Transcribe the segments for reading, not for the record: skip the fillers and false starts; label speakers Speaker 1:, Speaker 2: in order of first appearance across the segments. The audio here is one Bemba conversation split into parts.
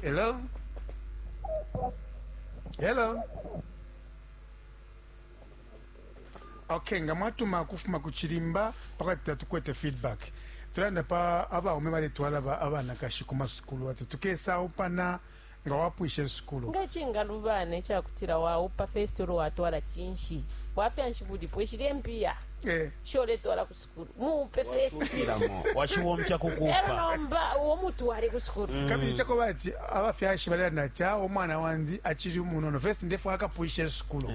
Speaker 1: Hello, hello. Okay, nga mwatuma kufuma ku chilimba pakati tatukwete feedback. Tulanda pa abaume baletwala abanakashi ku masukulu ati tukesa upana nga wapwisha isukulu.
Speaker 2: Nga cingalubana icakutila waupa first ulo watwala cinshi? Bwafya nshi bulipo? Ishili empiya isho uletwala ku sukulu. Muupe first.
Speaker 3: Washukilamo, washibomfya ku
Speaker 2: Elo
Speaker 3: kuupa.
Speaker 2: nomba uwo mutwale ku sukulu.
Speaker 1: Kabili cakuba ati abafyashi balelanda ati awe umwana wandi acili umunono first ndefwaya akapwishe isukulu.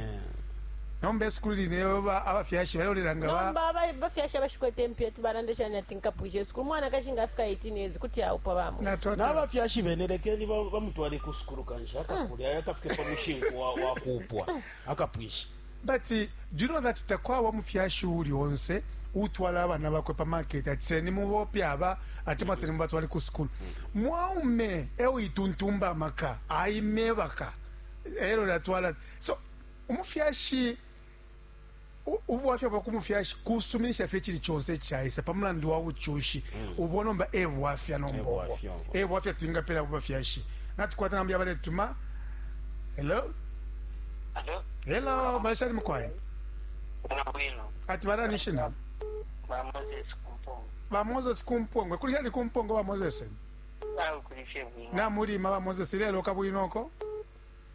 Speaker 1: Nomba isukulu line abafyashi balelolela nga ba
Speaker 2: Nomba abafyashi abashikwete impiya tubalanda shani ati nkapwishe isukulu? Umwanakashi nga afika 18 years kuti aupwa bamwe.
Speaker 1: Natotela.
Speaker 3: Nabafyashi bene lekeni bamutwale ku sukulu kanshi akakule aye akafike pa mushinku wa, wa kuupwa akapwishe.
Speaker 1: But do you know that takwaba umufyashi uuli onse uutwala abana bakwe pa market ati seni mubope aba atemwa seni mubatwale ku sukulu. Mwaume e uituntumba amaka aimebaka elo natwala. So umufyashi ubwafya bwa ku mufyashi kusuminisha fye icili conse icaisa pa mulandu wa bucushi ubo nomba e bwafya nomba ubo.
Speaker 3: E bwafya ubo.
Speaker 1: E bwafya twingapela ku bafyashi. Natukwata namba yabaletuma. Hello.
Speaker 4: Hello.
Speaker 1: Hello, malashani mukwai.
Speaker 4: Bwino bwino.
Speaker 1: Ati banani shina?
Speaker 4: Ba Moses Kumpongo.
Speaker 1: Ba Moses Kumpongo. Kuli shani Kumpongo ba Moses?
Speaker 4: Awe kuli fye bwino.
Speaker 1: Namulima ba Moses lelo kabwinoko.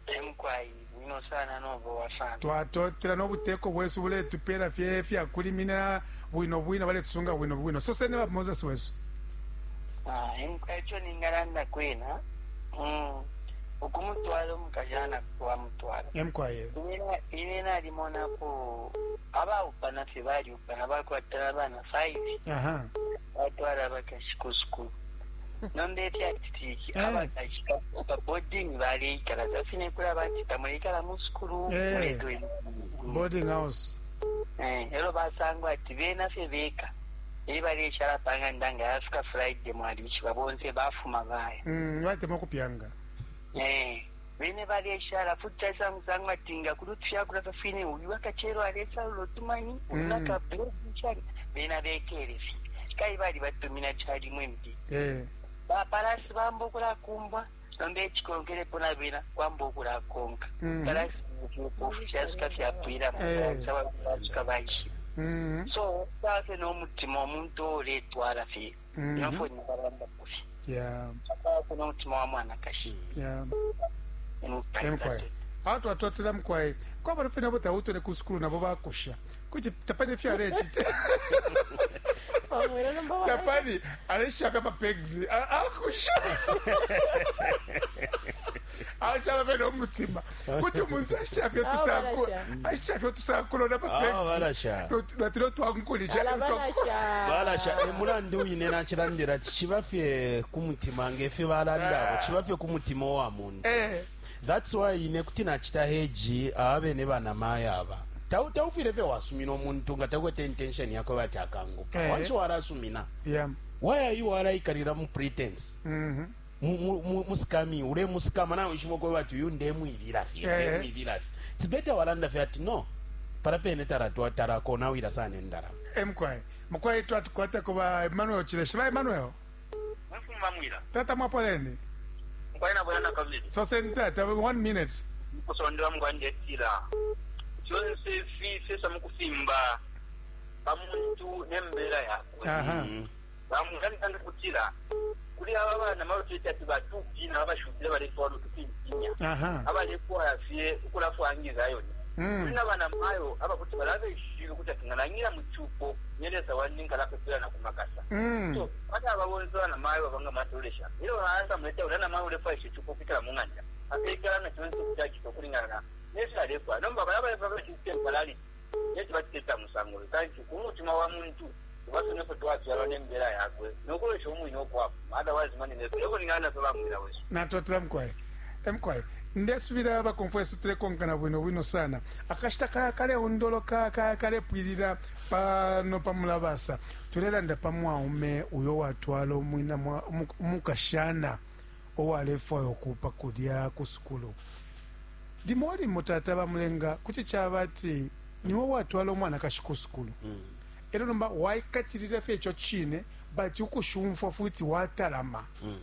Speaker 4: E mukwai bwino sana nobowa sana.
Speaker 1: Twatotela no buteko bwesu buletupela fye fya kulimina bwino bwino, baletusunga bwino bwino. Soseni ba Moses wesu.
Speaker 4: Ah, e mukwai ico ningalanda kwena. Ukumutwala umukashana wamutwala.
Speaker 1: E mukwai.
Speaker 4: Ine nalimonapo abaupana fye baliupana bakwata abana 5. Batwala abakashi ku sukulu. Nomba ifyacitike abakashi pa boarding baleikala fine kuli abati tamuleikala mu sukulu muletwele
Speaker 1: boarding house.
Speaker 4: Elo basangwa ati bena fye beka e baleshala pa ng'anda nga yafika Friday mwalishiba bonse bafuma baya.
Speaker 1: Batemwa kupyanga.
Speaker 4: Bene baleshala futi caisangusangwa ati nga kuli utufyakulya fya fine uyu akacelo alesalula utumani uyu naka bread shani bena bekele fye kai balibatumina calimo imbi. Ba palasi bamba ukulakumbwa nomba ecikonkelepo na bena kwamba ukulakonka. Palasi fyasuka fyapwilamo basuka baishiba. So safe no mutima omuntu uletwala fye nofo nibalandapo fye. Safe no mutima wa mwanakashi.
Speaker 1: Emkwai. Awo twatotela mukwai. Kwaba fye nabo tautole ku sukulu nabo bakusha. Kuti tapani fye alecita. Tapani aleshaka pa pegs. Akusha. Ashaba fye no mutima. Kuti umuntu ashafye tusakula. Ashafye tusakula na pa pegs.
Speaker 3: Balasha.
Speaker 1: Natilo twankulisha.
Speaker 3: Balasha. E mulandu wine nacilandila ciba fye ku mutima nge fyo balanda abo. Ciba fye ku mutima wa muntu. That's why ine kuti nacita heji abene bana maya aba. Taufile fye wasumina omuntu nga takwete intention yakwe bati akangupa. Once walasumina. Why are you walaikalira mu pretense? Mu scamming, ule mu scam na wishibo kwa bati uyu ndemwibila fye, ndemwibila fye. It's better walanda fye ati no. Para pene taratwa tarako na wira sana ndara.
Speaker 1: Mkwai. Mkwai twatukwata kwa Emmanuel Chileshe. Ba Emmanuel.
Speaker 5: Mfumba mwila.
Speaker 1: Tata mwapoleni.
Speaker 5: Mkwai na bwana kabili.
Speaker 1: So send tata 1 minute.
Speaker 5: Kusondewa mkwanje tira. Fyonse fi mukufimba pamuntu nembera yakwe. Bamuganda kutira kuli aba bana mabafite ati batupi na babashubira baletwala utupimpinya. Abalekwa fye ukulafwangiza yoni. Kuli n'abana mayo abakuti balabeshile kuti ati ngalanyira mu cupo nyereza wandi ngalapepera na kumakasa. So bana ababonse bana mayo babanga matolesha. Ilo baanza muleta ulana mayo ulefa ishe cupo kwikala mu ng'anda. Akekala na chonse kuchakito kulingana na nesi alekwa. Nomba balaba baba temporary. Nesi batita musango. Kanti kumutima wa muntu ubasone twafyalwa nembera yakwe. Nokulesha umwine okwafu. Otherwise mani nefe. Yoko ningana fye bamwira wesu.
Speaker 1: Natotela mkwai. Mkwai. Ndesubira bakonfeso tulekonkana bwino bwino sana. Akashita kaya kale ondoloka kaya kale pwilira pano pamulabasa. Tulelanda pamwaume uyo watwala omwina omukashana owalefwayo okupa kulya ku sukulu. Limo limo tata bamulenga kuti kyaba ati niwe watwala omwana kashi ku sukulu. Ero nomba waikatirira fye ekyo kine but ukushumfwa futi watalama.